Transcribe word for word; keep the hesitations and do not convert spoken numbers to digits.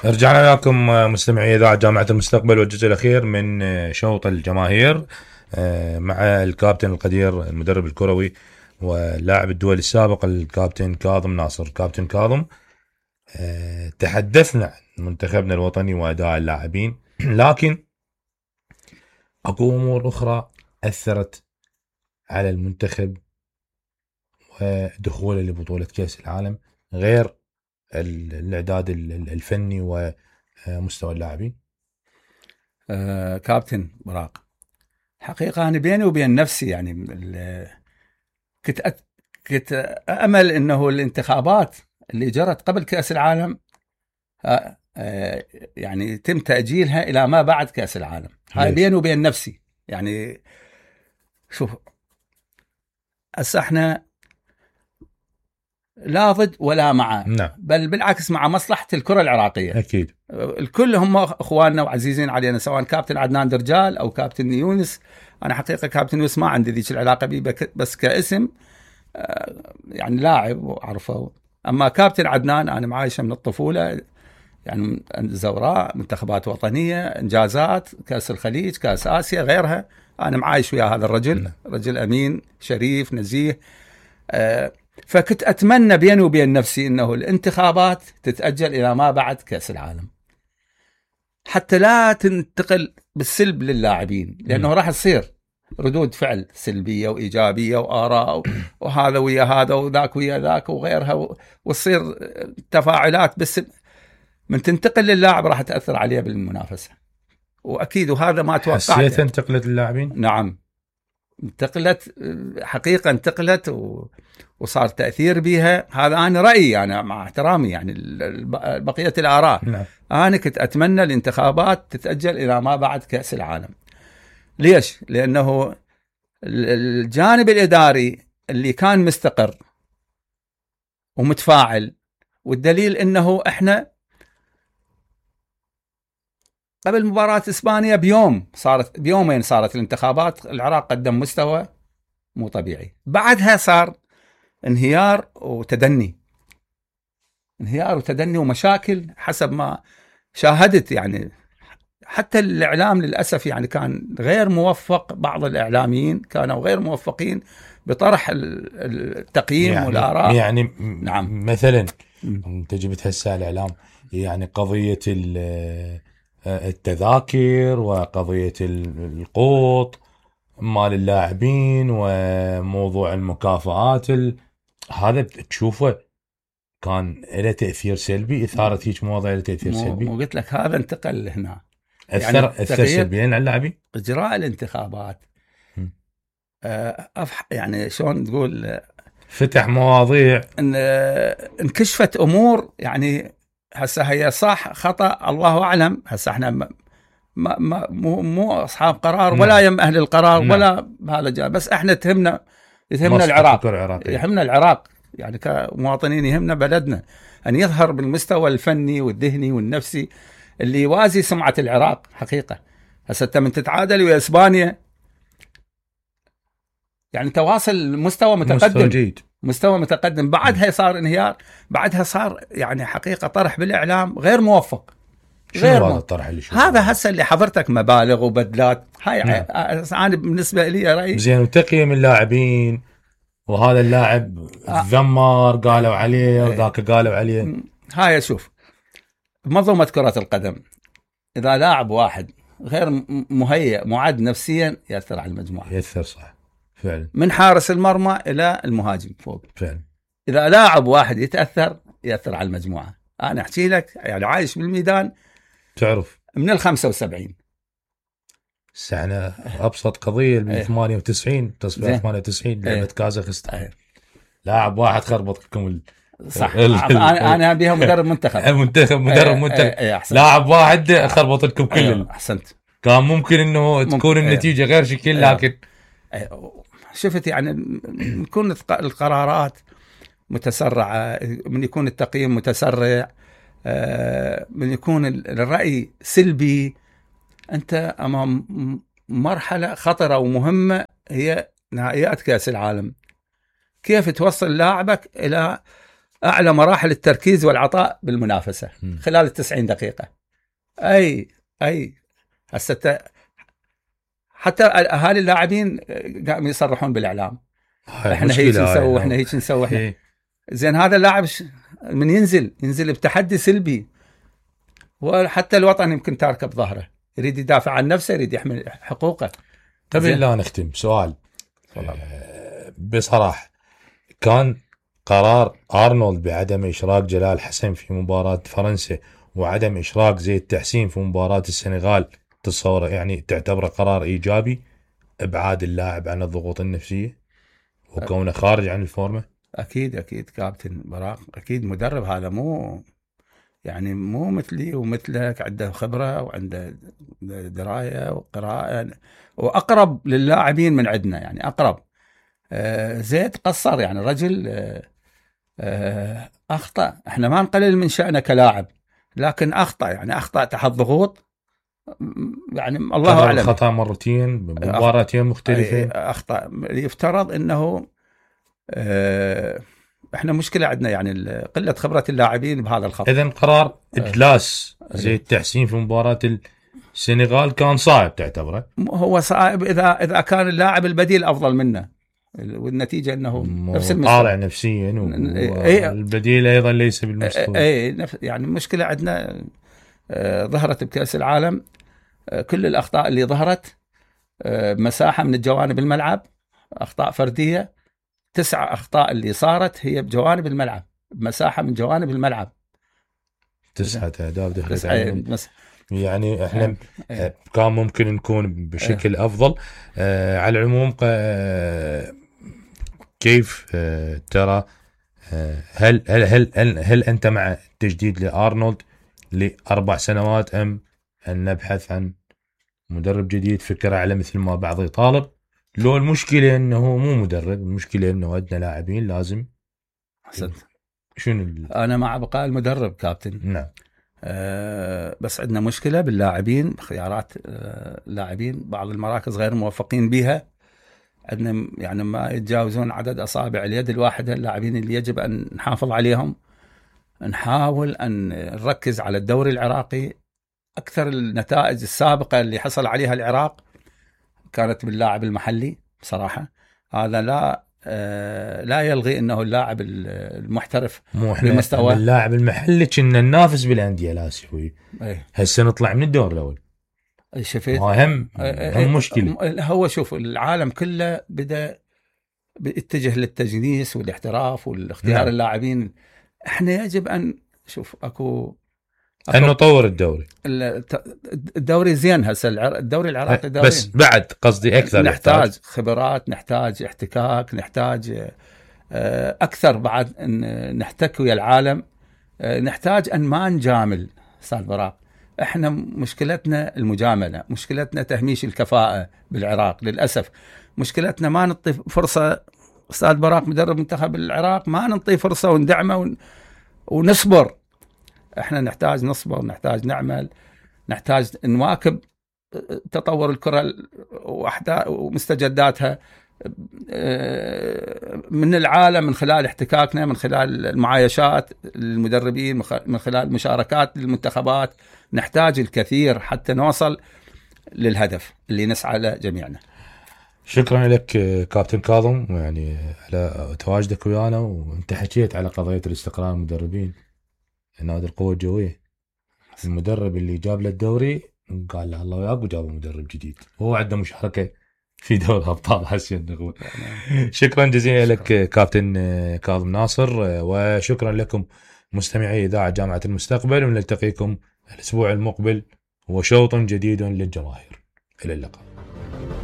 رجعنا لكم مستمعي إذاعة جامعة المستقبل والجزء الأخير من شوط الجماهير مع الكابتن القدير المدرب الكروي واللاعب الدولي السابق الكابتن كاظم ناصر. كابتن كاظم، تحدثنا عن منتخبنا الوطني وأداء اللاعبين، لكن أكو أمور أخرى أثرت على المنتخب ودخوله لبطولة كأس العالم غير الإعداد الفني ومستوى اللاعبين. آه كابتن براق، حقيقة أنا بيني وبين نفسي يعني كنت أت... كنت أأمل إنه الانتخابات اللي جرت قبل كأس العالم آه آه يعني يتم تأجيلها إلى ما بعد كأس العالم. هاي بيني وبين نفسي يعني. شوف، هسه احنا لا ضد ولا مع، نعم. بل بالعكس مع مصلحة الكرة العراقية. أكيد الكل هم أخواننا وعزيزين علينا، سواء كابتن عدنان درجال أو كابتن يونس. أنا حقيقة كابتن يونس ما عندي ذيك العلاقة بيه، بس كاسم يعني لاعب وأعرفه. أما كابتن عدنان أنا معايشه من الطفولة، يعني زوراء، منتخبات وطنية، إنجازات، كأس الخليج، كأس آسيا، غيرها. أنا معايش ويا هذا الرجل، رجل أمين شريف نزيه. أه فكنت أتمنى بيني وبين نفسي أنه الانتخابات تتأجل إلى ما بعد كأس العالم، حتى لا تنتقل بالسلب للاعبين، لأنه راح تصير ردود فعل سلبية وإيجابية وآراء وهذا ويا هذا وذاك ويا ذاك وغيرها، وتصير تفاعلات، بس من تنتقل للاعب راح تأثر عليه بالمنافسة. وأكيد وهذا ما توقعته. حسيت انتقلت اللاعبين؟ نعم، انتقلت حقيقة، انتقلت و... وصار تأثير بها. هذا أنا رأيي، أنا مع احترامي يعني بقية الآراء. نعم. أنا كنت أتمنى الانتخابات تتأجل إلى ما بعد كأس العالم. ليش؟ لأنه الجانب الإداري اللي كان مستقر ومتفاعل، والدليل أنه إحنا قبل مباراة إسبانيا بيوم صارت بيومين صارت الانتخابات، العراق قدم مستوى مو طبيعي. بعدها صار انهيار وتدني، انهيار وتدني ومشاكل حسب ما شاهدت. يعني حتى الإعلام للأسف يعني كان غير موفق، بعض الإعلاميين كانوا غير موفقين بطرح التقييم يعني والآراء. يعني نعم. مثلا انت جبت هسه الإعلام، يعني قضية التذاكر وقضية القوط مال اللاعبين وموضوع المكافآت، هذا تشوفه كان له تأثير سلبي، إثارة هيك مواضيع له تأثير مو سلبي. مو قلت لك هذا انتقل هنا، أثر يعني أثر سلبيا على اللاعبين. إجراء الانتخابات آه يعني شلون تقول، فتح مواضيع، ان انكشفت امور. يعني هسه هي صح خطأ الله اعلم. هسه احنا ما ما مو مو اصحاب قرار ولا نعم. يم اهل القرار نعم. ولا هذا جاء، بس احنا تهمنا يهمنا العراق، يهمنا العراق يعني كمواطنين، يهمنا بلدنا ان يظهر بالمستوى الفني والذهني والنفسي اللي يوازي سمعة العراق. حقيقة هسه من تتعادل ويا اسبانيا، يعني تواصل مستوى متقدم، مستوى جيد، مستوى متقدم. بعدها صار انهيار، بعدها صار يعني حقيقة طرح بالإعلام غير موفق. غير هذا الطرح اللي شوف هذا هسه اللي حضرتك مبالغ وبدلات. هاي نعم. أنا بالنسبة لي رأيي زين، وتقييم اللاعبين، وهذا اللاعب ذمر قالوا عليه وذاك قالوا عليه. هاي شوف، منظومة كرة القدم إذا لاعب واحد غير مهيئ معد نفسيا يأثر على المجموعة. يأثر صح فعلا، من حارس المرمى إلى المهاجم فوق فعلا. إذا لاعب واحد يتأثر يأثر على المجموعة. أنا أحكي لك يعني عايش بالميدان، تعرف من الخمسة وسبعين سنة أبسط قضية من ثمانية وتسعين، تصفية ثمانية وتسعين لعبة كازاخستان، لاعب واحد خربط لكم ال... صح. أنا أنا بيها مدرب منتخب منتخب مدرب منتخب لاعب واحد خربط لكم كل. أحسنت. كان ممكن إنه تكون النتيجة غير شكل، لكن شفت يعني يكون القرارات متسرعة، من يكون التقييم متسرع، من يكون الرأي سلبي. أنت أمام مرحلة خطرة ومهمة هي نهائيات كأس العالم. كيف توصل لاعبك إلى اعلى مراحل التركيز والعطاء بالمنافسه م. خلال التسعين دقيقه. اي اي هسه حتى اهالي اللاعبين قاموا يصرحون بالاعلام احنا هيك نسوي واحنا هيك نسوي احنا. زين هذا اللاعب من ينزل ينزل بتحدي سلبي، وحتى الوطن يمكن تاركه بظهره، يريد يدافع عن نفسه، يريد يحمل حقوقه. قبل لا نختم سؤال آه بصراحه، كان قرار ارنولد بعدم اشراك جلال حسن في مباراه فرنسا وعدم اشراك زيد تحسين في مباراه السنغال تصور يعني تعتبره قرار ايجابي ابعاد اللاعب عن الضغوط النفسيه وكونه خارج عن الفورمه؟ اكيد اكيد كابتن براق، اكيد مدرب هذا مو يعني مو مثلي ومثلك، عنده خبره وعنده درايه وقراءه واقرب للاعبين من عندنا، يعني اقرب. آه زيد قصر، يعني رجل آه آه اخطا، احنا ما نقلل من شأنه كلاعب، لكن اخطا يعني اخطا تحت ضغوط، يعني الله اعلم خطا مرتين بمباراتين مختلفه. اخطا يفترض انه آه احنا مشكله عندنا يعني قله خبره اللاعبين بهذا الخط. اذا قرار اجلاس زيد تحسين في مباراه السنغال كان صعب تعتبره؟ هو صعب اذا اذا كان اللاعب البديل افضل منه، والنتيجه انه نفس المستوى طالع نفسيا والبديل ايضا ليس بالمستوى. اي يعني المشكله عندنا آه ظهرت بكاس العالم آه كل الاخطاء اللي ظهرت آه مساحه من الجوانب الملعب، اخطاء فرديه، تسع اخطاء اللي صارت هي بجوانب الملعب، مساحه من جوانب الملعب، تسعه اهداف دخلت عليهم. يعني احنا أيه. كان ممكن نكون بشكل أيه. افضل. آه على العموم آه كيف آه ترى آه هل, هل هل هل هل انت مع تجديد لارنولد لاربع سنوات ام ان نبحث عن مدرب جديد فكره على مثل ما بعض يطالب؟ لو المشكله انه مو مدرب، المشكله انه عندنا لاعبين لازم. حسن شنو ال... انا مع بقاء المدرب كابتن. نعم. أه بس عندنا مشكله باللاعبين، خيارات أه لاعبين بعض المراكز غير موفقين بها، عندنا يعني ما يتجاوزون عدد اصابع اليد الواحده اللاعبين اللي يجب ان نحافظ عليهم. نحاول ان نركز على الدوري العراقي. اكثر النتائج السابقه اللي حصل عليها العراق كانت باللاعب المحلي بصراحه، هذا لا آه لا يلغي انه اللاعب المحترف بمستوى اللاعب المحلي كنا ننافس بالانديه الاسيويه. هسه نطلع من الدور الاول. شفت مهم هم مشكله. هو شوف العالم كله بدا بيتجه للتجنيس والاحتراف والاختيار نعم. اللاعبين، احنا يجب ان شوف اكو ان نطور الدوري. الدوري زين هسه الدوري العراقي دوري، بس بعد قصدي اكثر نحتاج يحتاج. خبرات، نحتاج احتكاك، نحتاج اكثر بعد ان نحتك ويا العالم، نحتاج ان ما نجامل. استاذ براق احنا مشكلتنا المجامله، مشكلتنا تهميش الكفاءه بالعراق للاسف، مشكلتنا ما نعطي فرصه. استاذ براق مدرب منتخب العراق ما نعطي فرصه وندعمه ونصبر. احنا نحتاج نصبر، نحتاج نعمل، نحتاج نواكب تطور الكره ومستجداتها من العالم، من خلال احتكاكنا، من خلال المعايشات للمدربين، من خلال مشاركات للمنتخبات. نحتاج الكثير حتى نوصل للهدف اللي نسعى له جميعنا. شكرا لك كابتن كاظم يعني على تواجدك ويانا، وانت حكيت على قضيه الاستقرار المدربين. نادي القوة الجوية المدرب اللي جاب له الدوري قال له الله وياك وجاب مدرب جديد، هو عنده مشاركة في دوري أبطال آسيا النخبة. شكرا جزيلا لك كابتن كاظم ناصر، وشكرا لكم مستمعي إذاعة جامعة المستقبل، ونلتقيكم الأسبوع المقبل وشوط جديد للجماهير. إلى اللقاء.